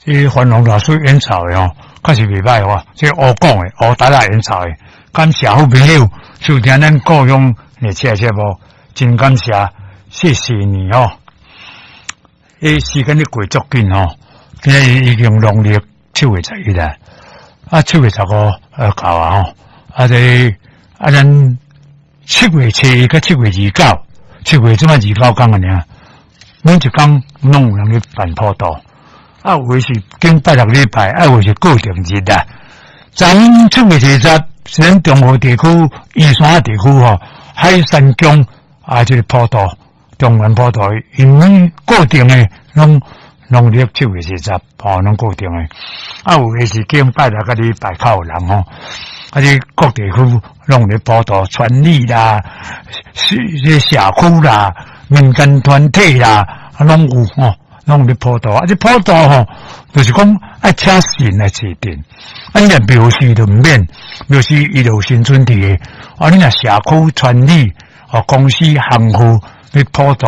這梵龍老師演奏的吼，確實袂䆀吼，這烏講的烏達仔演奏的，感謝好朋友收聽咱故鄉的這節目，真感謝，謝謝你吼。欸，時間咧過足緊吼，今日已經農曆7月11啦，啊7月15到啊吼，啊這啊咱7月7佮7月29，七月這擺29工爾，每一工攏有人咧辦普渡。啊，有的是經拜六禮拜，啊，有的是固定日啦。昨7月20是咱中和地區、宜山地區吼，海山宮啊，這個普渡，中元普渡，因為固定的攏農曆七月二十，吼，攏固定的。啊，有的是經拜六佮禮拜較有人吼，啊，這各地區攏咧普渡，村里啦、社社區啦、民間團體啦，啊，攏有吼。攏咧普渡，啊！這普渡吼，就是講愛請神來坐鎮，啊！你若廟司就毋免，廟司伊就有神尊佇个，啊！你若社區村里哦，公司行戶咧普渡，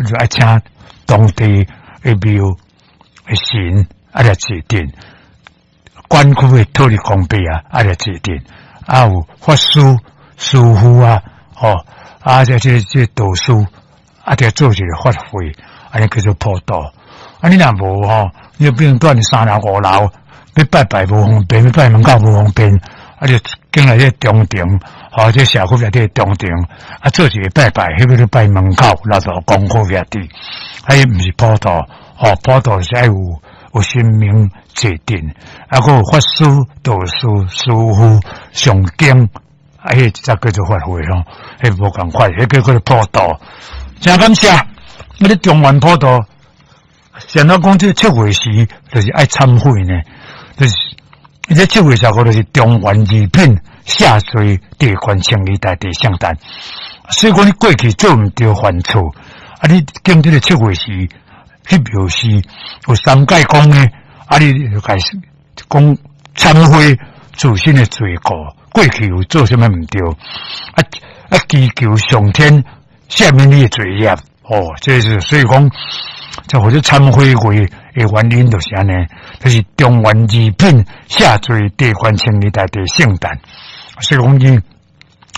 就愛請當地的廟的神啊來坐鎮，管區的土地公伯啊啊來坐鎮，啊有法師、師父啊，吼啊這這這道士啊，得做一個法會。按呢叫做普渡，啊！你若無吼，你就變成蹛三樓五樓，欲拜拜無方便，欲拜門口無方便，啊！就進來這中庭，吼，這社區內底中庭，啊，做一個拜拜，彼個就拜門口，老道公好遐佇，啊，彼毋是普渡，吼，普渡是愛有有神明坐鎮，啊，閣有法師、道士、師父誦經，啊，彼才叫做法會吼，彼無仝款，彼叫做普渡，真感謝。啊！你中元普渡，像咱講這七月時，就是愛懺悔呢。就是這7月15，就是中元二品下罪地官清理大帝聖誕。所以講你過去做毋對犯錯，啊！你經這個七月時去廟寺有三界講呢，啊！你就開始講懺悔自身的罪過，過去有做啥物毋對，啊啊！祈求上天赦免你的罪業。哦，這是所以講，這或者懺悔會的原因就是按呢，就是中元二品下罪地官清理大帝聖誕。所以講你，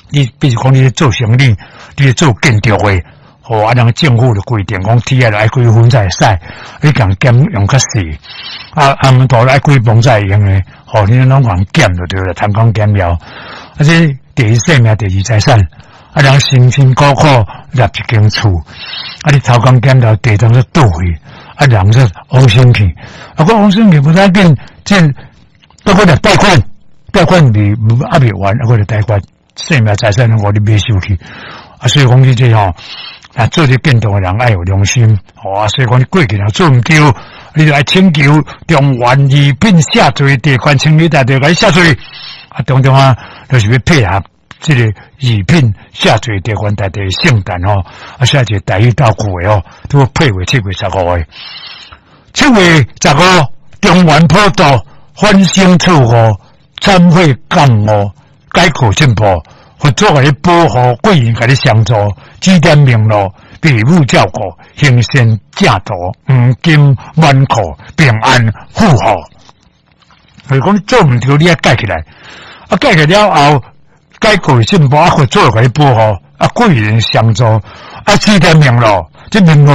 你比如講你做生意，你做建築的，哦，啊，人政府就規定講，鐵仔愛幾分才會使，你共減用較細，啊，啊，毋多愛幾磅才會用的，哦，你攏共減就對了，偷工減料。啊，這第一生命，第二財產。啊，人辛辛苦苦立一間厝，啊，你偷工減料，地當作倒去，啊，人說往生去，啊，閣往生去無要緊，這閣閣來貸款，貸款未猶未還，啊，閣來貸款，生命財產攏予你買收去，啊，所以講你這吼，啊，做這建築的人愛有良心，吼啊，所以講你過去若做毋對，你就愛請求中元二品赦罪地官清理大帝共你赦罪，啊，當中啊，就是欲配合。這個二品下罪地官大帝聖誕吼，啊，寫一個台語道句的吼，都配為七月十五的。七月十五，中元普渡，反省錯誤，懺悔覺悟，改過進步，佛祖共你保護，貴人共你相助，指點明路，父母照顧，行善正途，黃金滿庫，平安富厚。所以講你做毋對，你愛改起來，啊，改起來了後。改過進步，啊，佛祖共你保護，啊，貴人相助，啊，指點明路，這明路。